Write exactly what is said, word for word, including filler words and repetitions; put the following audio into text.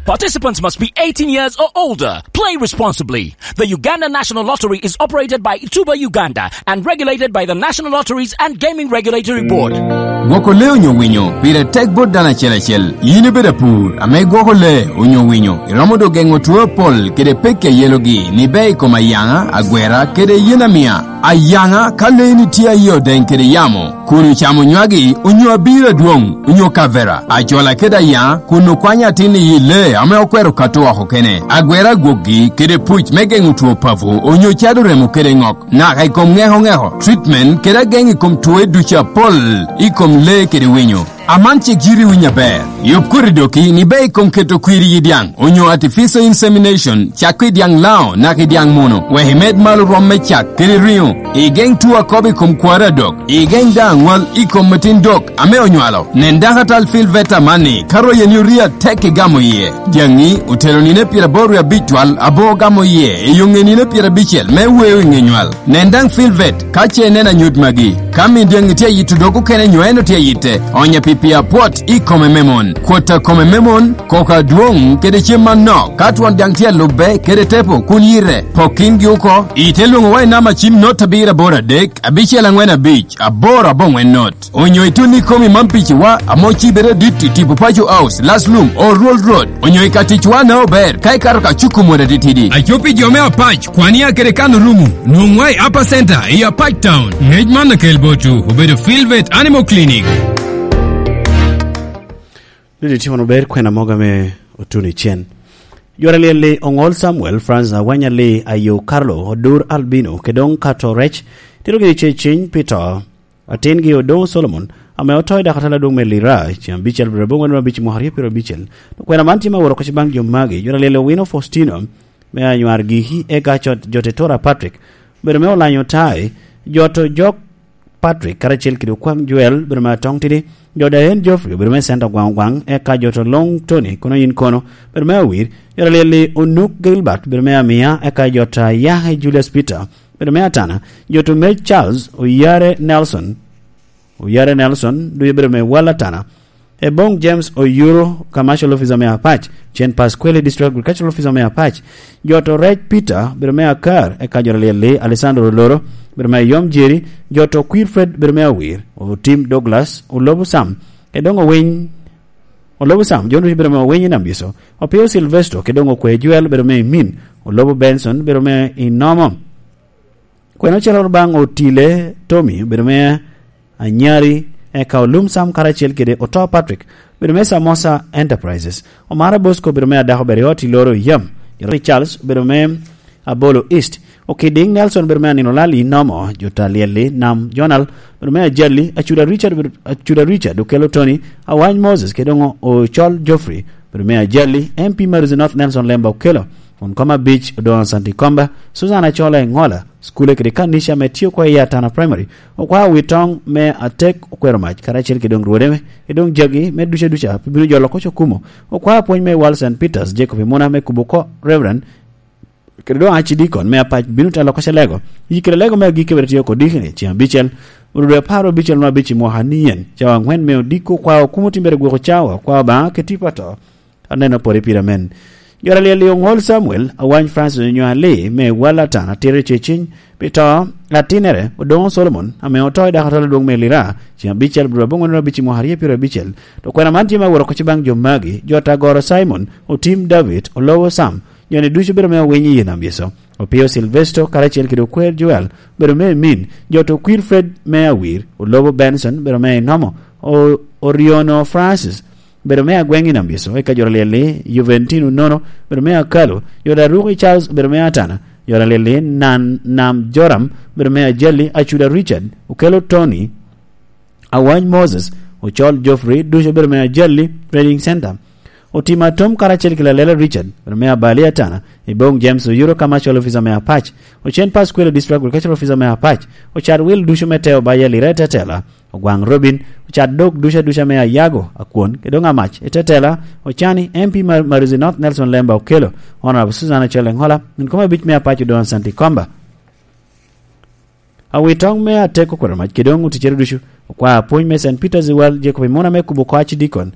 Participants must be eighteen years or older. Play responsibly. The Uganda National Lottery is operated by Tuba Uganda and regulated by the National Lotteries and Gaming Regulatory Board. Gwoko lee onyo winyo pire tek bot dano acel acel. Yin ibedo apur ame gwoko lee onyo winyo, iromo dok geŋo two apol kede pekki a yelogi ni bea i kom ayaŋa, agwera, kede yen amia. Ayaŋa, ka leeni tye a yie odeŋ kede yamo, kun ocamo nywagi onyo abiro adwoŋ onyo kavera, ajola kede ayaŋa, kun okwanyo atin i yi lee ame okwero kato oko kene, agwera agwokgi kede puc me geŋo two papo onyo cado remo kede ŋok, naka i kom ŋeko ŋeko, treatment kede ageŋ i kom twoe ducu apol i kom lee kede winyo. Aman cik yiti winyo aber. Yub koti doki ni bea i kom keto kwir i yi dyaŋ, onyo artificial insemination, cakko i dyaŋ lao naka i dyaŋ muno, wek imed malo rwom me cak kede riŋo. Igeŋ two akobo i kom kwari adok. Igeŋ daŋ aŋwal i kom metin dok ame onywalo. Nen dako atal Phil Veta amanni, ka royeni orii atek igamo iye. Dyaŋi otelo nino pyeraboro wie abic twal, abo ogamo iye i yoŋe nino pyerabicel me weo i ŋe nywal. Nen daŋ Phil Vet ka ce ineno anyut magi. Ka min dyaŋi tye ayito dog okene nyo en otye ayitte, onya pi pii apwot i kome me mon. Kwot a kome me mon, koko adwoŋ kede cem manok, ka twon dyaŋ tye alubbe kede tepo kun yite, pok kingi oko, ite lwoŋowa i namba cim not abiro aboro adek, abicel aŋwen abic, aboro aboŋwen not. Onyo itun i komi man piciwa, amo cibere dit i tipo Paco House, Laslum, Oruol Road. Onyo i ka ticwa na ober, ka ikato ka cuko mwoda titidi. Aco pi jo me Apac, Kwania kede Kano Rumu, nwoŋwa i Upper Center i Apac Town. Ngec man akel botwu, obedo Filvet Animal Clinic. Dudi timo maber kwena moga me otuno i cen. Jwara lyel-li Oŋol Samuel, Francis Awanya Lee, Ayo Carlo, Odur Albino, kede doŋ Kato Rec, tito gini ce ciny pi to. Atingi Odoŋo Solomon, ame oto i dako atala adwoŋ me Lira, ceŋ abicel dwe aboŋwen abic i mwaka aryo pyerabicel. Kwena man tye me woro kec baŋ jo magi, jwara lyel Owino Faustino, me Anywar Giki, eka cot jo Tetora Patrick, bedo me Olanyo Tai, jo to jok Patrick, karacel kede Okwaŋ Joel, bedo me Atong Tidi, jo Dayen Geoffrey, bedo me Center Gwaŋ Ogwaŋ, eka jo to Long Tony, kono yin kono, bedo me Awir, jwara lyel-li Onuk Gilbert, bedo me Amia, eka jo to Ayake Julius Peter, bedo me Atana, jo to Mej Charles, Oyare Nelson, Oyare Nelson, ducu bedo me Wal Atana, Ebong James Oyuro, Commercial Officer me Apac, Chen Pasquale, District Agricultural Officer me Apac, jo to Rec Peter, bedo me Akar, eka jwara lyel-li Alessandro Oloro, bedo me Yom Jerry, jo to Quilfred, bedo me Awir, Otim Douglas, Olobo Sam, kede doŋ Owiny, Olobo Sam, jo ducu bedo me Owiny i Nambiso, Opio Silvestro, kede doŋ Okwe Joel, bedo me Imin, Olobo Benson, bedo me Inomo. Kwena ocalo baŋ Otile Tommy, obedo me Anyari, eka Olum Sam karacel kede Oto Patrick, obedo me Samosa Enterprises, Omara Bosco, obedo me Adako Beriot i Loro Yam, Jerry Charles, obedo me Abolo East, Okidiŋ Nelson, obedo me Anino Lali Nomo, Jota Lyelli, Nam Jonal, obedo me Ajali, Acuda Richard, obedo, Acuda Richard, Okelo Tony, Awany Moses, kede doŋ Ocol Geoffrey, obedo me Ajali, M P Maruzi North Nelson Lemba Okelo, Kun Koma Beach, Odoŋo Santi Komba, Susan Acola Eŋola, Cukule kede kanica ame tye oko i Atana Primary, okwao wi toŋ me Atek Okwero Mac, karacel kede doŋ rwode me, kede doŋ jagi me duca duca, pe bino jolo koc okumo. Okwao pwony me Wal Saint Peters, Jacob Imuna me kubo oko, Reverend, kede doŋ Archdeacon me Apac bino telo koc alego. Yi kede alego me agikki bene tye oko dikini, ceŋ abicel, orudwe apar abicel ma abic i mwaka ni en, cawa aŋwen me odiko okwao okumo timbere gwoko cawa, okwao Obaŋa kede tipo ato. Aneno pwod i pira men. Jwara lyel i Oŋol Samuel, Awany Francis Onywali, me Wal Atan, atiro i ceciny, pi to, atinere, Odoŋo Solomon, ame oto i dako atol adwoŋ me Lira, ceŋ abicel, dwe aboŋwen abic i mwaka aryo pyerabicel. To kwena man tye me woro koc baŋ jo magi, jo Tagoro Simon, Otim David, Olobo Sam, jo-ni ducu bedo me owiny i yie nam Yecu. Opio Silvesto, karacel kede Okwer Joel, bedo me Emin, jo to Kwir Fred me Awir, Olobo Benson, bedo me Inomo, O-, Oriono Francis, bedo me agweŋ i Nambiso, eka joro lyel-li Juventino Nono, bedo me Akalo, joro Aruki Charles, bedo me Atana, joro lyel-li Nan, Nam Joram, bedo me Ajali, Acuda Richard, Okelo Tony, Awany Moses, Ocol Geoffrey, ducu bedo me Ajali Trading Center. Otima Tom karacel ki Lalela Richard, bedo me Abali Atana, Ibong James Oyuro Commercial Officer me Apac, Ocen Pasquale District Agricultural Officer me Apac, Ocat Will ducu me Teo Baya Lira Tetela, Ogwaŋ Robin, ocat dog duca duca me Ayago, Akwon, kede doŋ Amac, i Tetela, Ocani, M P mar Maruzi North Nelson Lemba Okelo, Honorable Susan Achol Eŋola, min koma abic me Apac Odoŋo Santi Komba. Awitoŋ me Ateko Kwero Mac kede doŋ oticere ducu, okwa apwony me Saint Peter's World Jacob Imuna me kubo oko Archdeacon,